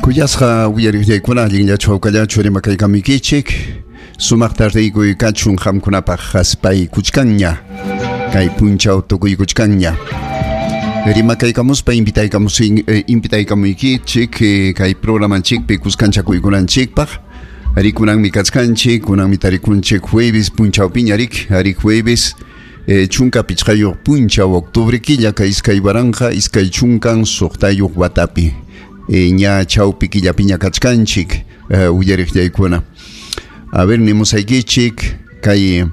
Kuyasqa uyariqllaykuna allinllachu hawkallachu rimakaykamuykichik. Sumaq tardeykuy kachun qamkunapaq haspaykuchkanña. Kay punchaw tukuykuchkanña. Rimakaykamuspa invitaykamuykichik kay programanchikpi kuskanchakuykunanchikpaq. Rikunanmi kachkanchik, kunanmi tarikunchik jueves punchawpiña rik, arí jueves 15 punchaw octubre killa kay 2026 watapi. Ña chawpi killapiña kachkanchik uyariqllaykuna. A ver, nimusaykichik kay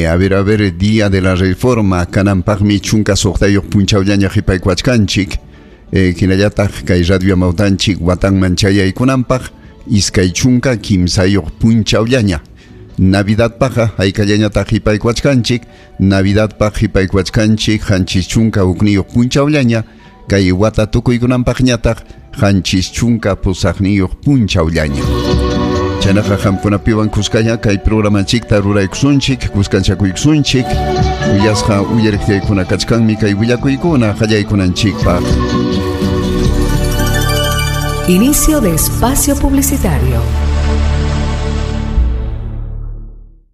a ver, Día de la Reforma kananpaqmi 16 punchawllaña qhipaykuachkanchik. Hinallataq kay radio amawtanchik watanman chayaykunanpaq 23 punchawllaña. Navidadpaqqa haykallañataq qhipaykuachkanchik, Navidadpaq qhipaykuachkanchik 71 punchawllaña, kay wata tukuykunanpaqñataq 78 punchawllaña. Chaynaqa qamkunapiwan kuskaña kay programanchikta ruraykusunchik, kuskanchakuykusunchik. Kuyasqa uyariqllaykuna kachkanmi kay willakuykuna qallaykunanchikpaq. Inicio de espacio publicitario.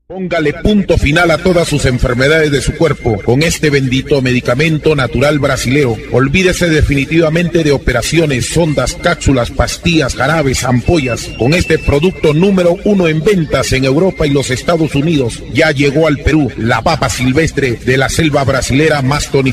Póngale punto final a todas sus enfermedades de su cuerpo con este bendito medicamento natural brasilero. Olvídese definitivamente de operaciones, sondas, cápsulas, pastillas, jarabes, ampollas. Con este producto número 1 en ventas en Europa y los Estados Unidos, ya llegó al Perú la papa silvestre de la selva brasilera más tonificada.